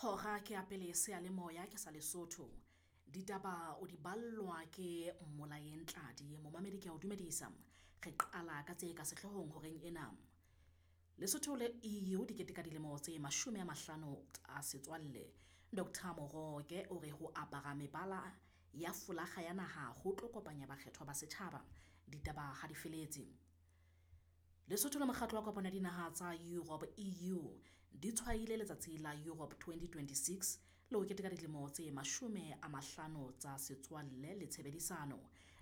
Hora ke ya pele seyalemoya ke sa Lesotho. Ditaba o di ballwa ke Mmolayeng Tladi. Momamedi ke a o dumedisa. Re qala ka tse ka sehloohong horeng ena. Lesotho le EU di keteka dilemo tse 50 tsa setswalle. Dr Moroke o re ho apara mebala ya folakga ya naha ho tlo kopanya bakgethwa ba setjhaba. Ditaba ha di feletse. Lesotho le Mokgatlo wa Kopano ya Dinaha tsa Europe EU di tshwaile letsatsi la Europe 2026 le ho keteka dilemo tse 50 tsa setswalle le tshebedisano.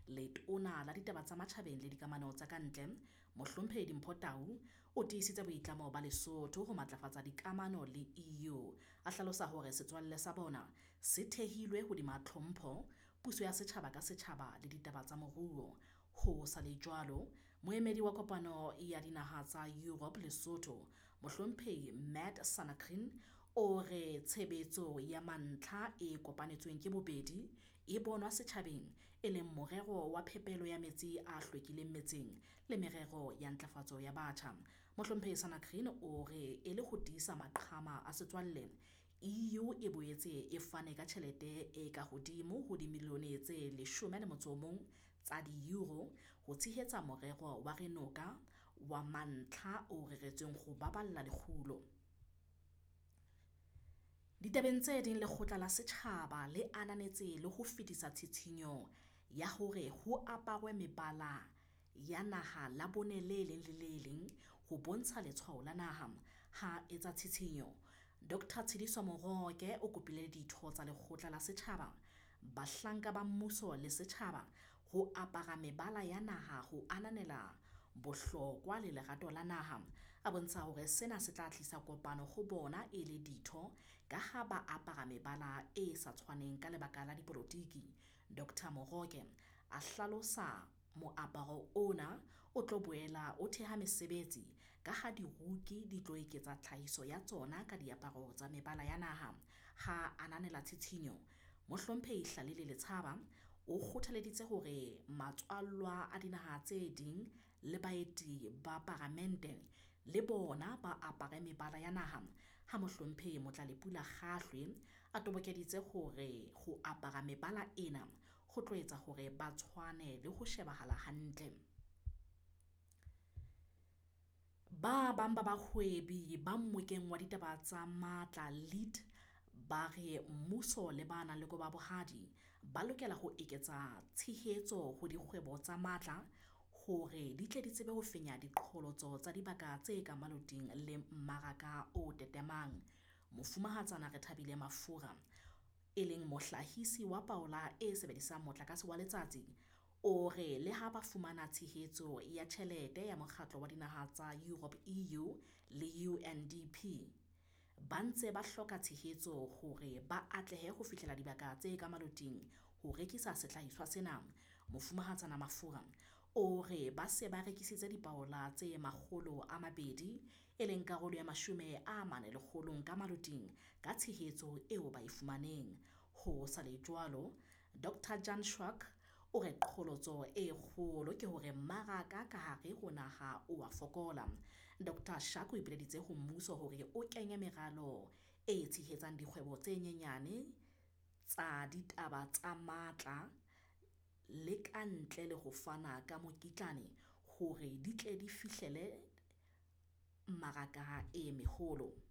Letona la ditaba tsa matjhabeng le dikamano tsa kantle, Mohlomphehi Dimpho Tau, o tiisitse boitlamo ba Lesotho ho matlafatsa dikamano le EU. A hlalosa hore setswalle sa bona se thehilwe hodima tlhompho, puso ya setjhaba ka setjhaba le ditaba tsa moruo. Ho sa le jwalo, moemedi wa kopano ya dinaha tsa Europe Lesotho, Mohlomphehi Matt Sanakrin, o re tshebetso ya mantlha e kopanetsweng ke bobedi e bonwa setjhabeng e leng morero wa phepelo ya metsi a hlwekileng metseng le merero ya ntlafatso ya batjha. Mohlomphehi Sanakrin o re e le ho tiisa maqhama a setswalle, EU e boetse e fane ka tjhelete e ka hodimo ho dimilione tse 11 tsa di-euro ho tshehetsa morero wa Re Noka wa mantlha o reretsweng ho baballa lekgulo. Ditabeng tse ding, lekgotla la setjhaba le ananetse le ho fetisa tshitshinyo ya hore ho aparwe mebala ya naha Labone le leng le le leng ho bontsha letshwao la naha. Ha etsa tshitshinyo, Dr Tshediso Moroke o kopile ditho tsa lekgotla la setjhaba, bahlanka ba mmuso le setjhaba ho apara mebala ya naha ho ananela bohlokwa le lerato la naha. A bontsha hore sena se tla tlisa kopano ho bona e le ditho ka ha ba apara mebala e sa tshwaneng ka lebaka la dipolotiki. Dr Moroke a hlalosa moaparo ona o tlo boela o theha mesebetsi ka ha diruki di tlo eketsa tlhahiso ya tsona ka diaparo tsa mebala ya naha. Ha ananela tshitshinyo, Mohlomphehi Hlalele Letshaba o kgothaleditse hore matswallwa a dinaha tse ding le baeti ba paramente le bona ba apare mebala ya naha. Ha Mohlomphehi Motlalepula Kgahlwe a tobokeditse hore ho apara mebala ena ho tlo etsa hore ba tshwane le ho shebahala hantle. Ba bang ba bahwebi ba mmokeng wa ditaba tsa matla lead ba re mmuso le ba nang le kobo ya bohadi ba lokela ho eketsa tshehetso ho dikgwebo tsa matla hore di tle di tsebe ho fenya diqholotso tsa dibaka tse ka maloting le mmaraka o tetemang. Mofumahatsana Rethabile Mafura, e leng mohlahisi wa paola e sebedisang motlakase wa letsatsi, o re le ha ba fumana tshehetso ya tjhelete ya Mokgatlo wa Dinaha tsa Europe EU le UNDP, ba ntse ba hloka tshehetso hore ba atlehe ho fihlela dibaka tse ka maloting ho rekisa sehlahiswa sena. Mofumahatsana Mafura o re ba se ba rekisitse dipaola tse 200, e leng karolo ya 40 lekgolong ka maloting ka tshehetso eo ba e fumaneng. Ho sa le jwalo, Dr Jan Schwack o re qholotso e kgolo ke hore mmaraka ka hare ho naha o a fokola. Dr Schwack o ipileditse ho mmuso hore o kenye meralo e tshehetsang dikgwebo tse nyenyane tsa ditaba tsa matla le ka ntle le ho fana ka mokitlane hore di tle di fihlelle mmaraka e meholo.